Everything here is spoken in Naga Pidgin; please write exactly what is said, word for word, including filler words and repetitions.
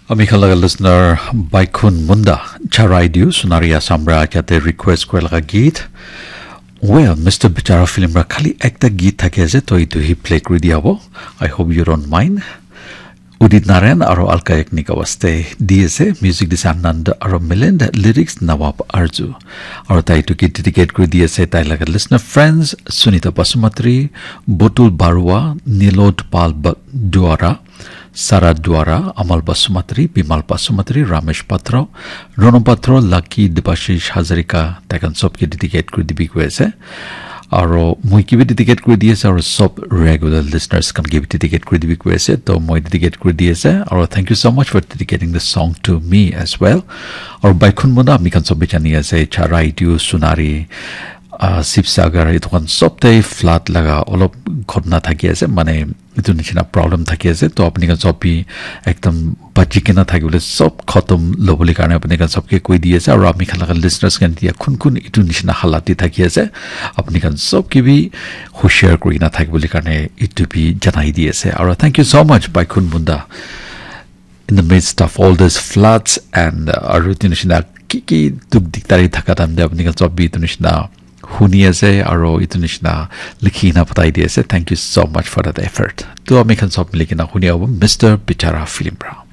Ami khan laga listener Baikhun Munda, Charai Diu, Sunari Assam ra jate request kore laga geet. Well, Mister Bichara film ra khali ekta geet thaki ase, to itu hi play kuri dia hobo. I hope you don't mind. Udit Narayan aro Alka Yagnik awaste di ase, music dise Anand aro Milind, lyrics Nawab Arju. Aro tai itu geet dedicate kuri di ase tai laga listener friends Sunita Basumatri, Botul Barua, Nilod Pal Ba-, Duara, Sara Duara, Amal Basumatri, Bimal Basumatri, Ramesh Patro, Rono Patro, Lucky, Debashish Hazarika, tai khan sob ke dedicate kuri dibi koi ase. Aro moi ke bi dedicate kuri di ase, aro sob regular listeners khan ke bi dedicate kuri dibi koi ase. To moi dedicate kuri di ase, aro thank you so much for dedicating the song to me as well. Aro Baikhun Munda ami khan sob bi jani ase, Charai Diu, Sunari, uh, Sibsagar, itu khan sob te flood laga olop ghotna thaki ase, mane itu nishina problem thaki ase. To apni khan sob bi ekdam bachi kena thakibole, sob khotom lobole karne apni khan sob ke koi di ase, aro ami khan laga listeners khan dia kun kun itu nishina halat te thaki ase, apni khan sob ke bi hushar kuri na thakibole karne itu bi janai di ase. Aro thank you so much, Baikhun Munda. In the midst of all these floods and, uh, aru itu nishina ki ki duk dikdari thaka time te apni khan sob bi itu nishina huni ase aro itu nishina likhi na patai di ase. Thank you so much for that effort. To ami khan sob mili kena huni abo Mister Bichara film pra.